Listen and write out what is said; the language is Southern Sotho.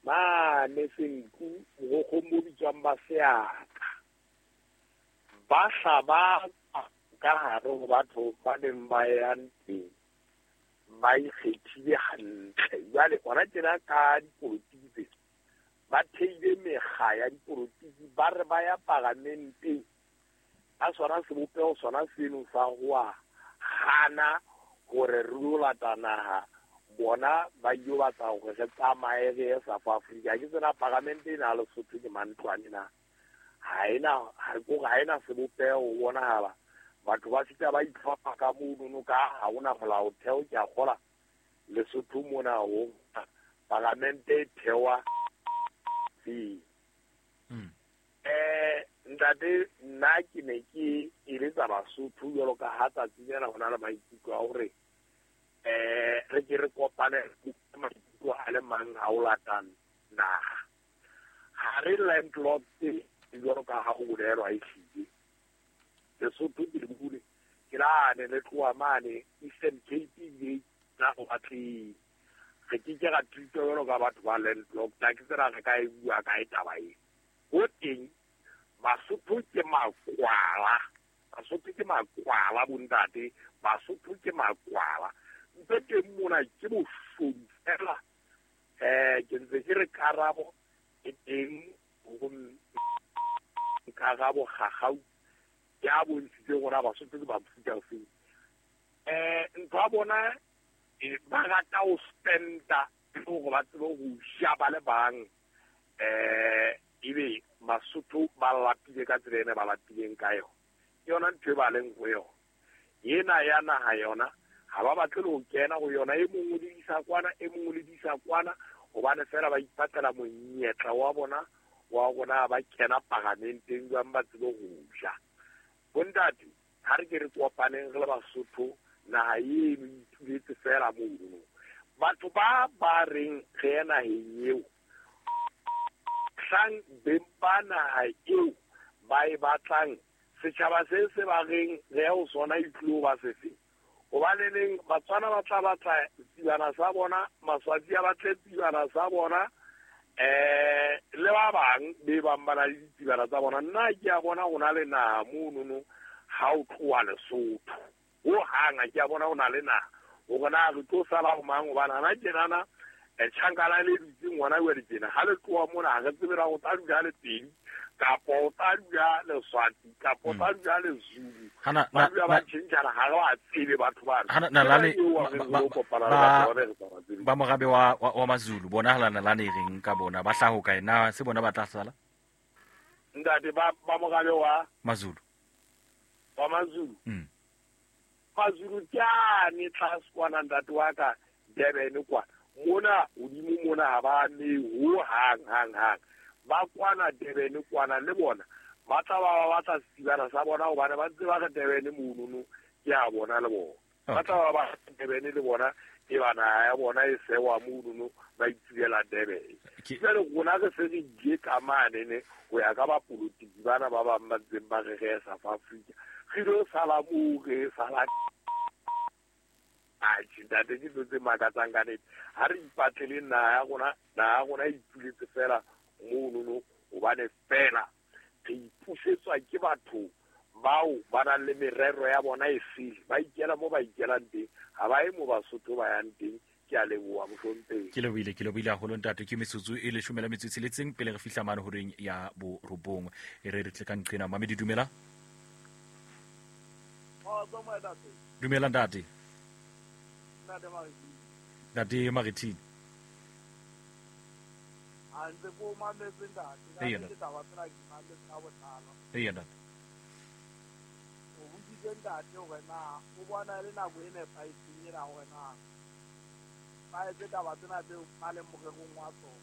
Mane Senqu mogokgong bo bitswang ba seatla. Ba hla ba ka hare ho batho ba neng ba yang teng ba ikgethile hantle. Jwale hona tjena ka dipolotiki tse ba theile mekga ya dipolotiki, ba re ba ya paramenteng ka sona sebopeho sona seno sa ho a hana hore re yo lata naha, bona ba ilo batla hore re tsamaye re ye South Africa. Ke tsena paramente ena ya Lesotho ke mantlwane na ha ena, ha kore ha ena sebopeho ho bonahala batho ba fihla ba itlhopha ka monono ka ha hona molaotheo. Ke a kgola Lesotho mona ho paramente e thewa feng. Ntate, nna ke ne ke eletsa Basotho jwalo ka ha tsatsi lena ho na le maikutlo a hore re ke re kopane maikutlo a le mang a o latang naha. Ha re landlocked jwalo ka ha ho bolelwa, ehlile Lesotho ke le bule ke lane le tloha mane Eastern Cape ebile na ho batleng re ke ke ra treatwa jwalo ka batho ba landlocked. Ha ke tsena re ka e bua kae taba e ho teng. Basotho ke makwala, Basotho ke makwala bontate, Basotho ke makwala. Ntho teng mona ke boshodu fela. Ke ntse ke re karabo e teng ho Karabo Gagau ya bontshitse gore Basotho ke ba mofuta ofeng. Ntho ya bona ba rata ho spenda e le hore ba tsebe ho ja ba le bang. Ebe Basotho ba lapile ka tsela ene ba lapileng ka yona. Ke yona ntho e ba leng ho yona. Ena ya naha yona ha ba batle le ho kena ho yona, e mong o le isa kwana, e mong o le isa kwana, hobane fela ba ipatlela monyetla wa bona wa rona ba kena paramenteng jwang ba tsebe ho ja. Bontate, ha re ke re kopaneng re le Basotho, naha eno e ituletse fela mono. Batho ba ba reng re ye naheng eo, hlang beng ba naha eo ba e batlang, setjhaba se se ba reng re ye ho sona e tlilo ba sefe? Hobaneneng Batswana ba tla batla tsibana sa bona, Maswatsi a batle tsibana sa bona, le ba bang be bang ba na le ditsibana tsa bona. Nna ke a bona ho na le naha monono ha o tloha Lesotho. Ho hang ha ke a bona ho na le naha. Hore na re tlo sala ho mang, hobane hana tjenana tjhankana le dutseng hona jwale tjena. Ha le tloha mona ha re tsebe na o tla dula le Pedi kapa o tla dula Leswatsi kapa o tla dula le Zulu. Ba dula ba tjhentjhana, ha re ba tsebe batho bana. Hana nalane Ke eo re lo kopana le batho ba re sa ba tsebeng. Ba morabe wa Mazulu bona hala nalane e reng ka bona, ba hlaha hokae? Na se bona ba tla sala? Ntate, ba morabe wa Mazulu. Wa Mazulu. Mazulu ke ane tlase kwana ntate wa ka Durban kwana. Mona hodimo mona ha ba ame ho hang hang hang. Ba kwana Durban kwana le bona ba tla ba ba batla setsibana sa bona hobane ba ntse ba re Durban monono ke a bona le bona. Ba tla ba ba Durban le bona e ba naha ya bona e sewa monono ba itsibela Durban. Jwale rona re se re ile ka mane ne ho ya ka bapolotiki bana ba bang ba ntseng ba re re South Africa. Re lo sala moo re sala. Atjhe, ntate, ke ntho tse makatsang ka nnete. Ha re ipatlele naha ya rona, naha ya rona e ituletse fela monono hobane fela re ipusetswa ke batho bao ba nang le merero ya bona e sele. Ba ikela mo ba ikelang teng, ha ba ye mo Basotho ba yang teng. Ke a leboha, mohlomphehi. Ke lebohile, ke lebohile haholo ntate. Ke metsotso e 16 pele re fihla mane horeng ya borobong. E re re tle ka nqena. Mamedi, dumela. Dumela ntate. Ntate Marithini. A ntse ko mametse ntate. Ka Eya, nnete taba tsena ke mametse ka botlalo. Eya, ntate. O boditse ntate hore na o bona e le nako e nepahetseng ena hore na ba etse taba tsena tseo ba leng morerong wa tsona.